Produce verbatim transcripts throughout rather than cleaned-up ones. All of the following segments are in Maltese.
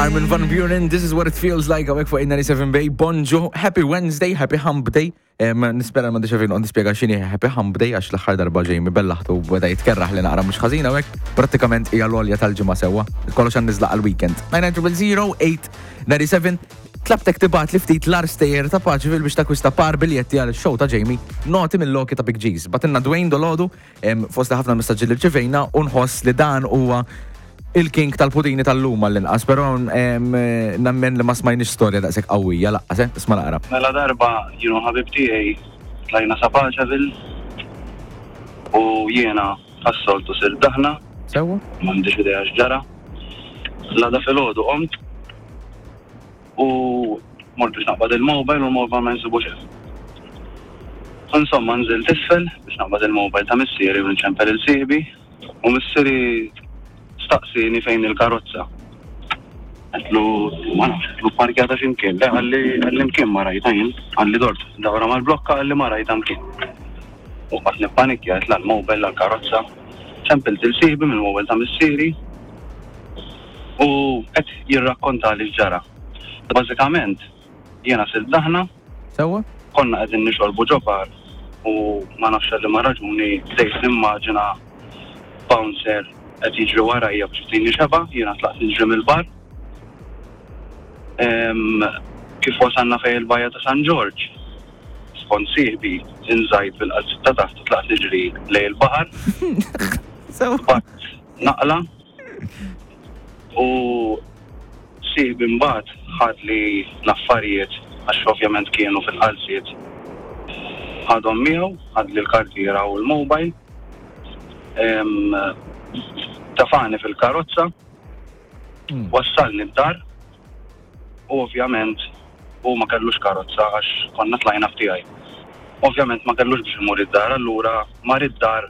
Armin van Buuren, "This Is What It Feels Like", hawnhekk fuq eight ninety-seven Bay. Bonġu, happy Wednesday, happy Hump Day. Em, Nispera ma xafin għandi spiega x'inhi happy Hump Day, għax l-aħħar darba Jamie bellaħtu beda jitkerraħ li naqra mhux ħażin hawnhekk. Prattikament hija l-għolja tal-ġimgħa sewwa. Kollox għan niżlaq għal-weekend. nine nine zero zero eight nine seven. Tlabtek tibgħat li ftit l-agħar stejjer ta' Paceville biex takwista par biljetti għal show ta' Jamie, "Noti mill-Loki" ta' Big G's. Bagħtilna Dwayne dalgħodu fost ħafna messaġġi li rċevejna u nħoss li dan huwa il-king tal-pudini tal-lum l-inqas, pero em, nemmen li ma smajniex storja daqshekk qawwija lanqas, eh? Isma' naqra. Mela darba jien u ħabib tiegħi tlajna sa Paceville u jiena għas-soltu sirt daħna, Sewwa? m'għandix idea x'ġara. L-għada filgħodu qomt u mort biex naqbad il-mobile u l-mobile ma nsibux hemm. Insomma, nżilt isfel biex naqbad il-mobile ta' missieri u nċempel lil sieħbi u missieri staqsini fejn il-karozza. Għedtlu, ma nafx, għedtlu parkjata x'imkien. Le, qalli qalli mkien ma rajta jien, qalli dort, dawra mal-blokka, qalli ma rajta mkien. U qgħadt nippanikja, għedt la l-mobile, la l-karozza. Ċempilt lil sieħbi mill-mobile ta' missieri u qed jirrakkonta li ġara. Bażikament, jiena sirt daħna, Sewwa? konna qegħdin nixorbu ġo bar u ma nafx li ma raġuni bdejt nimmaġina bouncer qed jiġri warajja biex jtini xebgħa, jiena tlaqt niġri mill-bar. Em, Kif wasalna fejn il-bajja ta' San Ġorġ, skont sieħbi inżajt bil-qalziet ta' taħt u tlaqt niġri lejn il-baħar, Sewwa? bat naqla u sieħbi mbagħad ħad li l-affarijiet, għax ovvjament kienu fil-qalziet, ħadhom miegħu, ħad li l-kartiera u l-mobile. Em, Tefagħni fil-karozza, Mm. wassalni d-dar u ovvjament u ma kellux karozza għax konna tlajna f'tiegħi. Ovvjament ma kellux biex imur id-dar, allura mar id-dar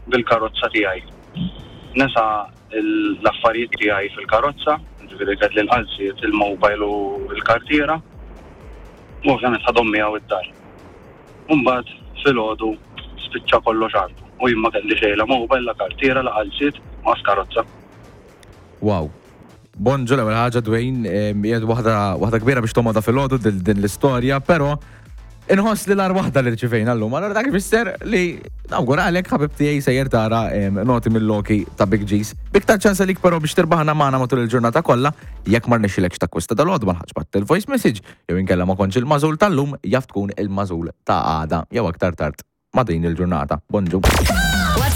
bil-karozza tiegħi. Nesa l-affarijiet tiegħi fil-karozza, ġifieri kelli l-qalziet, il-mobile u l-kartiera. U ovvjament ħadhom miegħu id-dar. Mbagħad filgħodu spiċċa kollox għandu. U jien ma kelli xejn, la mobile, la kartiera, la qalziet, ma karozza. Wow. Bonġu, l-ewwel ħaġa, Dwayne, em, hija waħda waħda kbira biex tomoda filgħodu din l-istorja, però inħoss li l-agħar waħda li rċivejna llum. Allora dak ifisser li nawguralek, ħabib tiegħi, sejjer tara em, "Noti mill-Loki" ta' Big G's. Biktar ċans għalik però biex tirbaħna magħna matul il-ġurnata kollha, jekk ma rnexxilekx takkwista dalgħodu, ma ħaġ bat il-voice message, jew inkella ma kontx il-magħżul tal-lum, jaf tkun il-magħżul ta' għada jew aktar tard ma' din il-ġurnata. Bonġu.